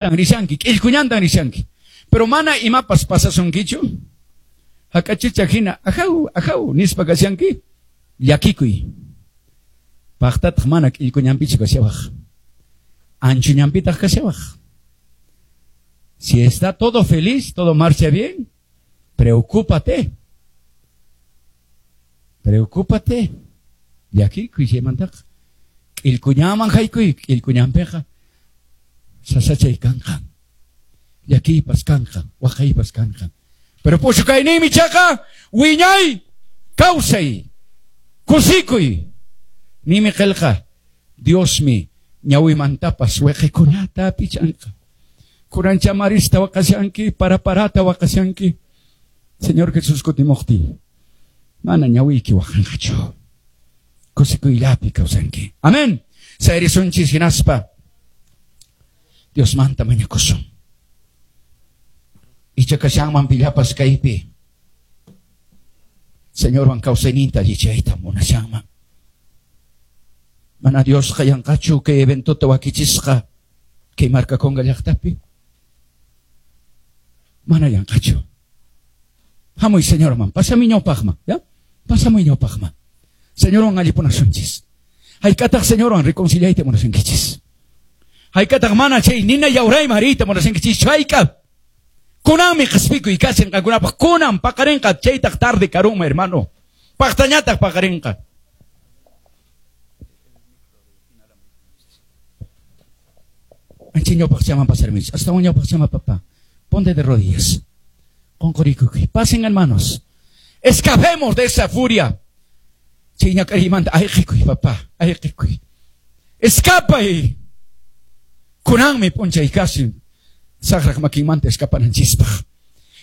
Rishanki, k'illkuñantan rishanki. Pero mana imapas pasasunkichu. Hak'achicha hina, ajaw, ajaw, nispa kashanki, llakikuy. Paqtataq mana k'illkuñanpichu kashawaq. Anchuñanpitaq kashawaq. Si está todo feliz, todo marcha bien, preocúpate. Preocúpate. Llakikuy chaymantaqa. K'illkuñanman haykuy, k'illkuñanpiqa sasachay kanqa. Llakiypas kanqa, waqaypas kanqa. Pero puchukayniymi chaqa wiñay kawsay, kusikuy. Nimi qillqa, Diosmi ñawimantapas wiqikunata pichanqa. Kuranchamarista waqashanki, para parata waqashanki. Señor Jesús kutimuqtin, mana ñawiyki waqanqachu. Kusikuyllapi kawsanki. Amén. Sayarisunchis hinaspa Diosmanta mañakusun. Icha kashanman pillapas kaypi. Señorwan kawsayninta allichayta munashanman. Mana Diosqa yanqachu kay eventota wakichisqa kay Marcaconga llaqtapi. Mana yanqachu. Hamuy Señorman, pasami ñawpaqman, ya? Pasamuy ñawpaqman. Señorwan allipunasunchis. Hayk'ataq Señorwan reconciliayta munasunkichis. Hayk'ataq mana chay nina yawrayman riyta munasunkichis. Hayk'a. Kunanmi qhispikuy kashan qankunapaq. Kunan paqarinqa chaytaq tarde karunman, hermano. Paqtañataq paqarinqa. Ancha ñawpaqchaman pasarmis. Hasta un ñawpaqchama, papá. Ponte de rodillas. Qunqurikuy. Pasen, hermanos. Escapemos de esa furia. Chay ñak'ariymanta ayqikuy, papá. Ayqikuy. Escapay. Kunanmi p'unchay kasin. Saqraq makinmanta escapananchispaq.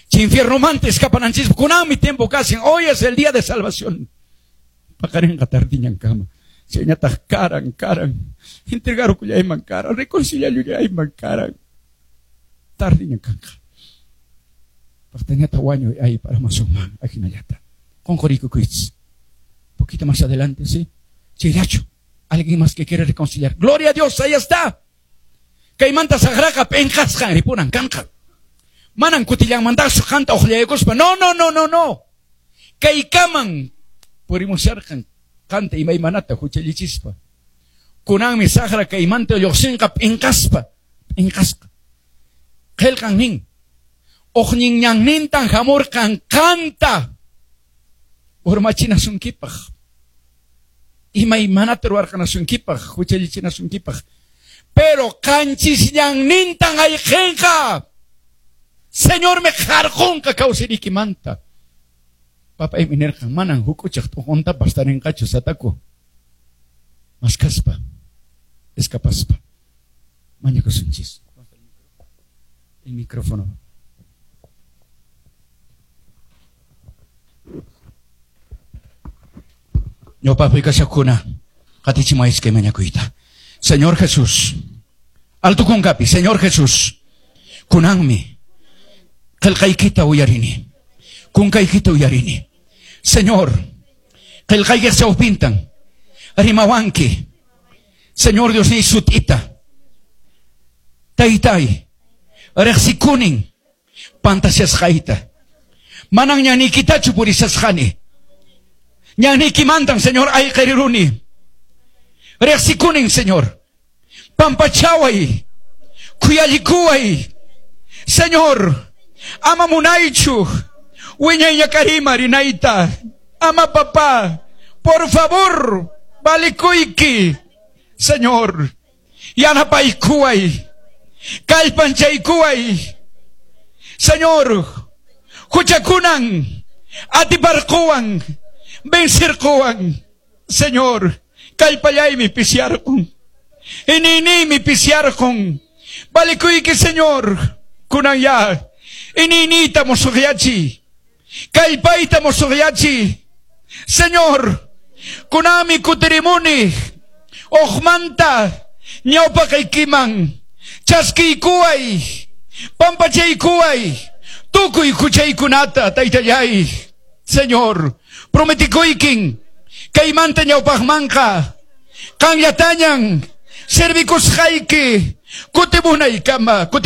Chay infiernomanta escapananchispaq. Kunanmi tiempo kasin. Hoy es el día de salvación. Paqarinqa tardiñan kama. Chayñataq karan, karan. Entregarukullayman karan. Reconciliallayman karan. Tardiñan kanqa. Paqtañata wañuy ay para masunman. Ajinallata. Qunqurikukuychis. Poquito más adelante, ¿sí? Chayllachu. Alguien más que quiere reconciliar. Gloria a Dios, ahí está. Kaymanta saqraqa p'inqasqan ripunan kanqa. Manan kutillanmantachu qanta uqllaykuspa. No, no, no, no, no. Kaykaman purimusharqan qanta imaymanata huchallichispa. Kunanmi saqra kaymanta lluqsinqa p'inqaspa. P'inqasqa. Qillqan nin. Uqñin ñannintan hamurqan qanta urmachinasunkipaq. Imaymanata ruwarqanasunkipaq, huchallichinasunkipaq. Pero qanchis ñannintan ayqinqa. Señormi qarqunqa kawsayniykimanta. Papaymi nirqan, manan huk'uchaq t'uquntapas tarinqachu sataku. Maskaspa, escapaspa. Mañakusunchis. El micrófono. Ñawpaqpi kashaqkuna, qatichimuwaychis kay mañakuyta. Señor Jesús, alto kunkapi, Señor Jesús, kunanmi qillqaykita uyarini, kunkaykita uyarini. Señor, qillqaykiq chawpintan rimawanki. Señor Dios ni sut'ita. Taytay, riqsikunin pantashasqayta. Manan ñaniykitachu purishasqani. Ñaniykimantan, Señor, ayqiriruni. Riqsikunin, Señor. Pampachaway, khuyallikuway. Señor, ama munaychu wiñay ñak'ariyman rinayta. Ama, papá, por favor, valikuyki. Señor, yanapaykuway, kallpanchaykuway. Señor, huchakunan, atiparquwan, vencerquwan. Señor, kallpallaymi pisiarqun. Iñiyniymi pisiarqun. Valikuyki, Señor, kunan ya. Iñiyniyta musuqyachiy. Kallpayta musuqyachiy. Señor, kunanmi kutirimuni. Uqmanta ñawpaqaykiman chaskiykuway, pampachaykuway, tukuy huchaykunata, taytallay. Señor, prometikuykin kaymanta ñawpaqmanqa qanllatañan servikusqayki. Kutimunaykama, kutimu.